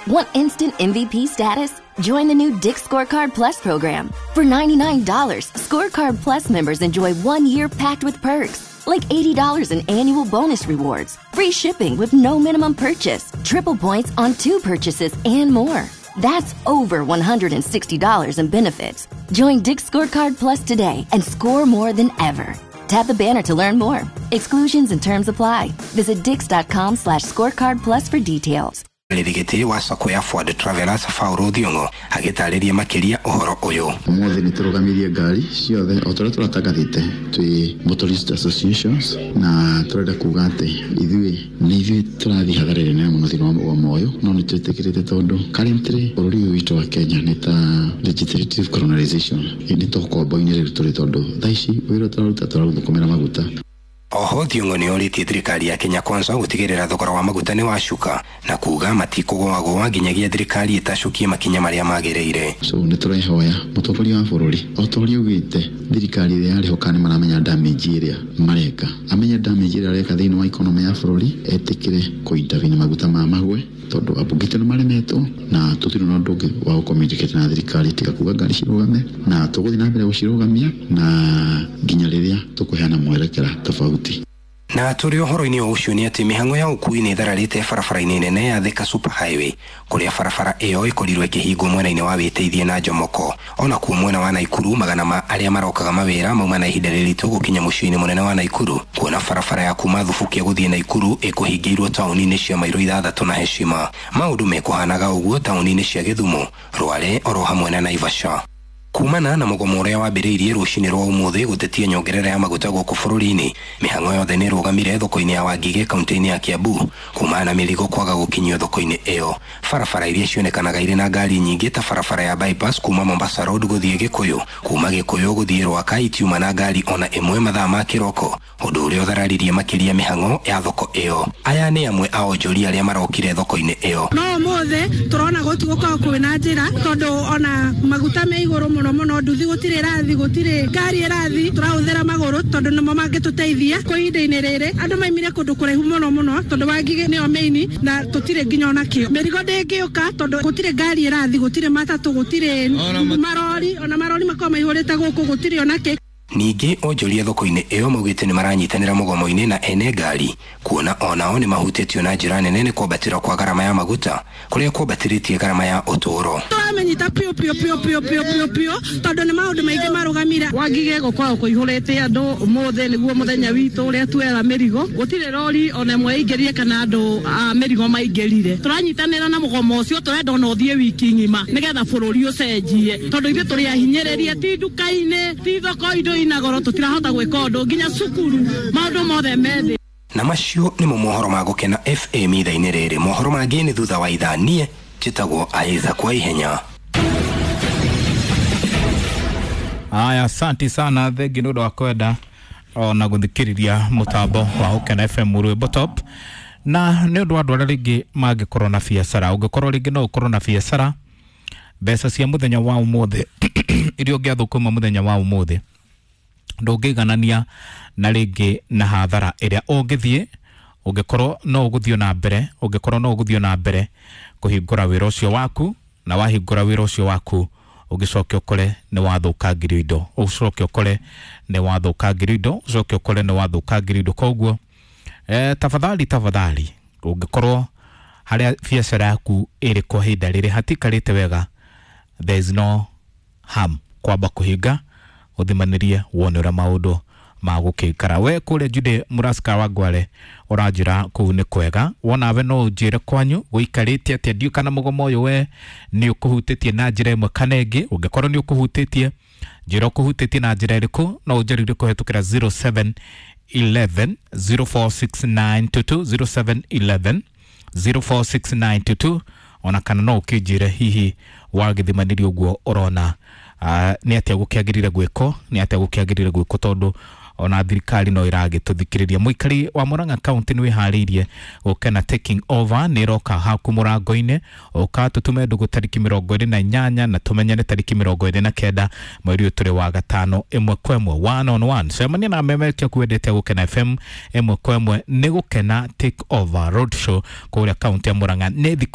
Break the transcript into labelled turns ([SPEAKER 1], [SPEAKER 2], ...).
[SPEAKER 1] Want instant MVP status? Join the new Dick's Scorecard Plus program. For $99, Scorecard Plus members enjoy 1 year packed with perks, like $80 in annual bonus rewards, free shipping with no minimum purchase, triple points on two purchases, and more. That's over $160 in benefits. Join Dick's Scorecard Plus today and score more than ever. Tap the banner to learn more. Exclusions and terms apply. Visit dix.com/scorecard plus for details.
[SPEAKER 2] Rĩrigĩtĩ wa sacco ya Forward Travelers Paul Thiong'o agĩtarĩria makĩria ũhoro ũyũ.
[SPEAKER 3] Ũmũthĩ nĩ tũrũgamirie ngari ciothe o ta ũrĩa tũratangathĩte twĩ Motorist Associations, na tũrenda kuga atĩ ithuĩ nĩ ithuĩ tũrathiĩ hathara ĩrĩa nene mũno thĩinĩ wa mũgomo ũyũ, no nĩ twĩtĩkĩrĩte tondũ currently bũrũri ũyũ witũ wa Kenya nĩ ta legislative colonization, nĩ ta ũkombo-inĩ rĩu tũrĩ, tondũ thaa ici wĩra tũraruta tũrathũkũmĩra maguta.
[SPEAKER 2] Oho Thiong'o nĩ orĩtie thirikari ya Kenya Kwanza gũtigĩrĩra thogora wa maguta nĩ wacuka na kuga matikũgũagũa nginyagia thirikari ĩtacukie makinya marĩa magĩrĩire.
[SPEAKER 3] So nĩ tũrehoya mũtongoria wa bũrũri, o ta ũrĩa augĩte thirikari ĩrĩa yarĩho kana nĩ maramenya damage ĩrĩa mareka, amenye damage ĩrĩa areka thĩinĩ wa economy ya bũrũri, etĩkĩre kũ-intervene maguta ma magwe, tondũ ambunge aitũ nĩ maremetwo na tũtirĩ na ũndũ ũngĩ wa gũ-communicate na thirikari tiga kuga ngari cirũgame, na tũgũthiĩ na mbere gũcirũgamia na nginya rĩrĩa tũkũheana mwerekera tofauti.
[SPEAKER 2] Na tũrĩ ũhoro-inĩ o ũcio nĩ atĩ mĩhang'o ya ũkui nĩ ĩthararĩte barabara-inĩ nene ya Thika Super Highway, kũrĩa barabara ĩyo ĩkorirwo ĩkĩhingwo mwena-inĩ wa Wĩteithie na Jomoko. Ona kuo mwena wa Naikuru, magana ma arĩa marokaga mawĩra mauma na ihinda rĩritũ gũkinya mũciĩ-inĩ mũnene wa Naikuru, kuona barabara ya kuma Thubukia gũthiĩ Naikuru ĩkũhingĩirwo taũni-inĩ cia mairo 6 na Heshima. Maũndũ mekũhanaga ũguo taũni-inĩ cia Gĩthumo, Rware oro hamwe na Naivasha. Kumana na mũgomo ũrĩa wambĩrĩirie rũcinĩ rwa ũmũthĩ gũtetia nyongerera ya maguta gũkũ bũrũri-inĩ, mĩhang'o yothe nĩ ĩrũgamire thoko-inĩ ya Wangigĩ kaunti-inĩ ya Kiambu, kumana na mĩrigo kwaga gũkinyio thoko-inĩ ĩyo. Barabara iria cionekanaga irĩ na ngari nyingĩ ta barabara ya bypass kuma Mombasa Road gũthiĩ Gĩkũyũ, kuma Gĩkũyũ gũthiĩ Rwaka, itiuma na ngari ona ĩmwe mathaa ma kĩroko, ũndũ ũrĩa ũthararirie makĩria mĩhang'o ya thoko ĩyo. Aya nĩ amwe a onjoria arĩa marokire thoko-inĩ ĩyo.
[SPEAKER 4] No ũmũthĩ tũrona gũtigũkorwo kwĩna njĩra, tondũ ona maguta me igũrũ mũno mũno, nduthi gũtirĩ ĩrathi, gũtirĩ ngari ĩrathi, tũrahũthĩra magũrũ tondũ nĩmo mangĩtũteithia kwa ihinda-inĩ rĩrĩ. Andũ maimire kũndũ kũraihu mũno mũno, tondũ Wangigĩ nĩyo main na tũtirĩ nginya ona kĩo. Mĩrigo ndĩngĩũka tondũ gũtirĩ ngari ĩrathi, gũtirĩ matatũ, gũtirĩ marori, ona marori makorwo maihũrĩte gũkũ, gũtirĩ ona kĩ.
[SPEAKER 2] Ningĩ onjoria thoko-inĩ ĩyo maugĩte nĩ maranyitanĩra mũgomo-inĩ na ene ngari, kuona onao nĩ mahutĩtio na njĩra nene nĩ kwambatĩra kwa garama ya maguta kũrĩa kwambatĩrĩtie garama ya ũtũũro.
[SPEAKER 4] Tũramĩnyita piũ piũ piũ piũ piũ piũ piũ, tondũ nĩ maũndũ maingĩ marũgamire.
[SPEAKER 5] Wangige gũkoragwo kũihũrĩte andũ. Ũmũthĩ nĩguo mũthenya witũ ũrĩa tuoyaga mĩrigo. Gũtirĩ rori ona ĩmwe ĩingĩrire kana andũ a mĩrigo maingĩrire. Tũranyitanĩra na mũgomo ũcio, tũrenda ona ũthiĩ wiki ng'ima nĩgetha bũrũri ũcenjie, tondũ ithuĩ tũrĩ ahinyĩrĩrie, ti nduka-inĩ, ti thoko, indo ina goro, tũtirahota gwĩka ũndũ, nginya cukuru maũndũ mothe me thĩ.
[SPEAKER 2] Na macio nĩmo mohoro ma Gũkena FM ithaa-inĩ rĩrĩ. Mohoro mangĩ nĩ thutha wa ithaa. Niĩ njĩtagwo Aiza kwa Ihenya.
[SPEAKER 6] Aya, asanti sana, thengi nĩ ũndũ wa kwenda ona gũthikĩrĩria mũtambo wa Gũkena FM, rwĩmbo top. Na nĩ ũndũ wa andũ arĩa rĩngĩ mangĩkorwo na biacara, ũngĩkorwo rĩngĩ no ũkorwo na biacara, mbeca cia mũthenya wa ũmũthĩ iria ũngĩathũkũma mũthenya wa ũmũthĩ ndũngĩiganania na rĩngĩ na hathara ĩrĩa ũngĩthiĩ ũngĩkorwo no ũgũthiĩ na mbere, ũngĩkorwo no ũgũthiĩ na mbere kũhingũra wĩra ũcio waku. Na wahingũra wĩra ũcio waku, ũgĩcoke ũkore nĩ wathũkangĩrio indo, ũcoke ũkore nĩ wathũkangĩrio indo, ũcoke ũkore nĩ wathũkangĩrio indo. Koguo tafadhali, tafadhali, ũngĩkorwo harĩa biacara yaku ĩrĩ kwa ihinda rĩrĩ hatikarĩte wega, there is no harm kwamba kũhinga ũthimanĩrie wone ũrĩa maũndũ magũkĩikara. We kũrĩa Jude Mũrasika wa Ngware ũranjĩra kũu nĩ kwega, wonawe no ũnjĩre kwanyu gũikarĩte atĩa. Ndiũ kana mũgomo ũyũ we nĩ ũkũhutĩtie na njĩra ĩmwe kana ĩngĩ. Ũngĩkorwo nĩ ũkũhutĩtie, njĩra ũkũhutĩtie na njĩra ĩrĩkũ. No ũnjarĩrie kũhetũkĩra 0711 046922, 0711 046922, ona kana no ũkĩnjĩre hihi wagĩthimanĩria ũguo ũrona nĩ atĩa gũkĩagĩrĩire gwĩkwo, nĩ atĩa gũkĩagĩrĩire gwĩkwo, tondũ ona thirikari no ĩragĩtũthikĩrĩria. Mũikari wa Murang'a County, nĩ wĩharĩirie gũkena taking over nĩ ĩroka haku mũrango-inĩ? Ũka tũtume ndũgũ tarĩki 28 na tũmenyane tarĩki 29 mweri ũyũ tũrĩ wa gatano, ĩmwe kwa ĩmwe, one on one. Cemania na memerekia kwendete Gũkena FM ĩmwe kwa ĩmwe. Nĩ Gũkena Take Over Road Show kũrĩa kaunti ya Murang'a nĩ thikũ